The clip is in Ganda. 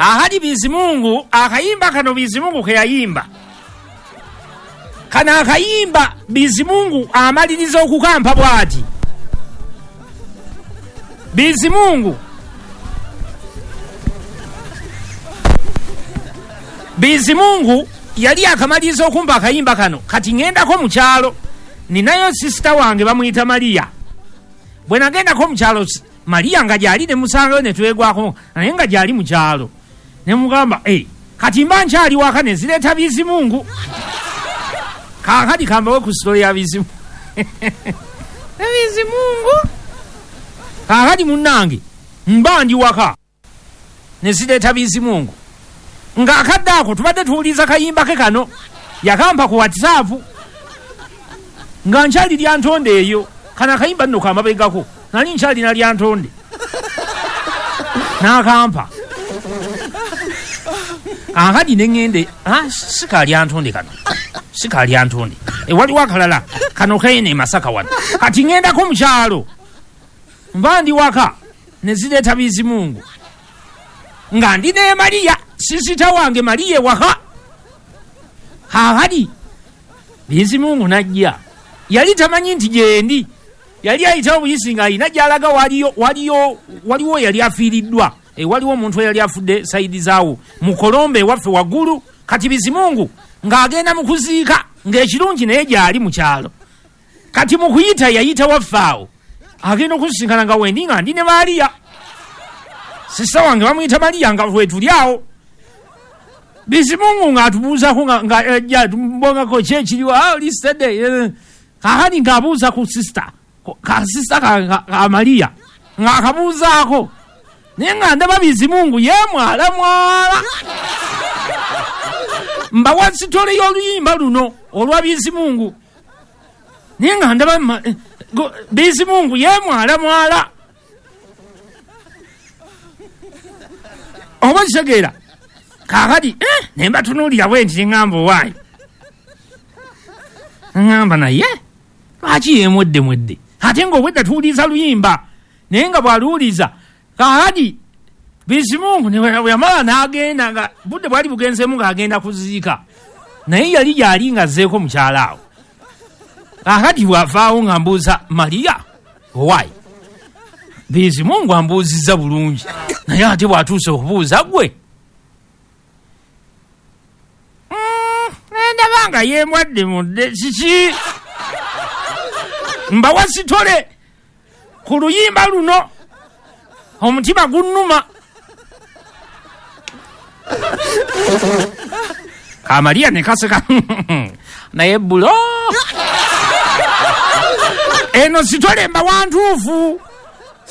Ahali Bizimungu, akayimba kano Bizimungu ke yayimba. Kano akayimba Bizimungu amaliriza okukampa bw'ati. Bizimungu Bizimungu yali akamaliriza okumpa akayimba kano. Kati ŋŋendako mu kyalo, ninayo sisita wange bamuyita Maria. Bwe nagendako mu kyalo, Maria nga gy'ali ne musangayo ne twegwako, naye nga gy'ali mu kyalo. Ne mugamba, kati mba nkyali waka ne zireeta Bizimungu. Kaakati kambawe ku sitole ya Bizimungu. Bizimungu. Kaakati munnange mba ndi waka ne zireeta Bizimungu. Ng'akadde ako tubadde tuwuliza kayimba ke kano, yakampa ku WhatsApp nga nkyali Lyantonde eyo. Kano akayimba nno kamabegako, nali nkyalina Lyantonde, n'akampa. Kaakati ne ŋŋende, si ka Lyantonde kano, si ka Lyantonde, waliwo akalala kano keene e Masaka wano. Kati ŋŋendako mu kyalo, nva ndi waka ne zireeta Bizimungu nga ndi ne Maria, sisita wange Maria ewaka. Kaakati Bizimungu n'ajja, yali tamanyi nti gyendi, yali ayitawo buyisi ng'alina gy'alaga waliwo yali afiiriddwa. Waliwo omuntu eyali afudde sayidi zaawo mu Kolombe ewaffe waggulu. Kati Bizimungu ng'agenda mu kuziika, ng'ekirungi naye gy'ali mu kyalo. Kati mu kuyita yayita waffe awo, agenda okusisinkana nga wendi nga ndi ne Maria, sisita wange bamuyita Maria, nga wetuli awo. Bizimungu ng'atubuuzako nga tumbongako ki ekiriwo, lisitedde. Kaakati ng'abuuza ku sisita, ka sisita ka Maria ng'akabuuzaako, naye nga ndaba Bizimungu yeemwala mwala. Mbawa sitole y'oluyimba luno olwa Bizimungu, naye nga ndaba Bizimungu yeemwala mwala. Oba kitegeera? Kaakati ne mbatunuulira bwe nti ne ŋŋamba owaayi, ŋŋamba naye lwaki yeemwedde mwedde, ate ng'obwedda tuwuliza luyimba, naye nga bw'aluwuliza. Kaakati Bizimungu bwe yamala n'agenda, nga budde bwali bugenzeemu ng'agenda kuziika, naye yali gy'ali ng'azzeeko mu kyalo awo. Kaakati bw'avaawo nga mbuuza Maria owaayi, Bizimungu ambuuzizza bulungi, naye ate bw'atuuse okubuuza ggwe, ndaba nga yeemwadde mudde kiki. Mbawa sitole ku luyimba luno, omutima gunnuma. Ka Maria ne kaseka naye bulo eno sitole mbawa ntuufu.